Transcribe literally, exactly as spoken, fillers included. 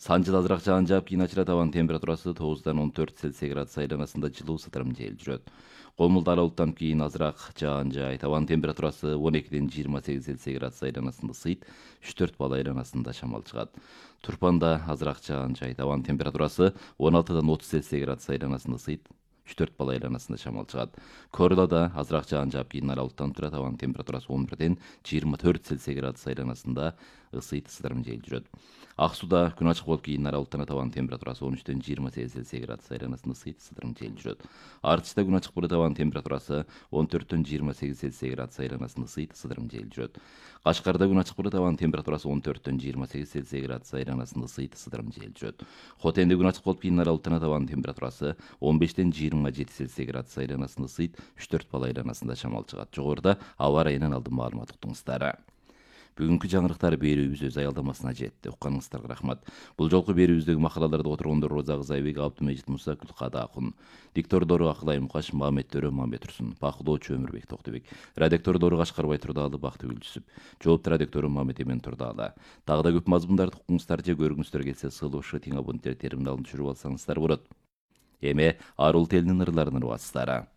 Санжыда азыраак жаан жаап, кийин ачылат. Абанын температурасы тогуздан он төрт Цельсий градус айланасында жылуу сыдырым жел жүрөт. Комулда ала булуттанып кийин азыраак жаан жаайт. Абанын температурасы он экиден жыйырма сегиз Цельсий градус айланасында ысыйт, үч төрт балл айланасында шамал чыгат. Турпанда азыраак жаан жаайт. Абанын температурасы он алтыдан отуз Цельсий градус айланасында ысыйт, үч төрт балл айланасында шамал чыгат. Корлада азыраак жаан жаап, кийин ала булуттанып турат. Абанын температурасы он бирден жыйырма төрт Цельсий градус айланасында ысыйт, сыдырым жел жүрөт. Ак сууда күн ачык болуп, кийин ара булуттанат. Абанын температурасы он үчтен жыйырма сегиз Цельсий градус айланасында ысыйт, сыдырым жел жүрөт. Артичте күн ачык болот. Абанын температурасы он төрттөн жыйырма сегиз Цельсий градус айланасында ысыйт, сыдырым жел жүрөт. Кашкарда күн ачык болот. Абанын температурасы он төрттөн жыйырма сегиз Цельсий градус айланасында ысыйт, сыдырым жел жүрөт. Хотенде күн ачык болуп, кийин ара булуттанат. Абанын температурасы он бештен жыйырма жети Цельсий градус айланасында ысыйт, үч төрт балл айланасында шамал чыгат. Жогоруда аба ырайынан алдын маалымат уктуңуздар. Бүгүнкү жаңырыктар берүүбүз өз аялдамасына жетти. Укканыңыздарга рахмат. Бул жолку берүүбүздөгү макалаларды которгондор Роза Кызайбек, Абдымежит Муса, Гүлкада Акун. Диктордору Акылай Мукаш, Мамет Төрө, Мамет Турсун. Бакылоочу Өмүрбек Токтубек. Редактордору Кашкарбай Турдаалы, Бактыгүл Жүсүп. Жоопту редактору Мамет Эмен Турдаалы. Дагы да көп мазмундарды укуңуздар же көргүңүздөр келсе, сыйлоочу тең абоненттер терминалын түшүрүп алсаңыздар болот. Эми арул телинин ырларын угасыздар.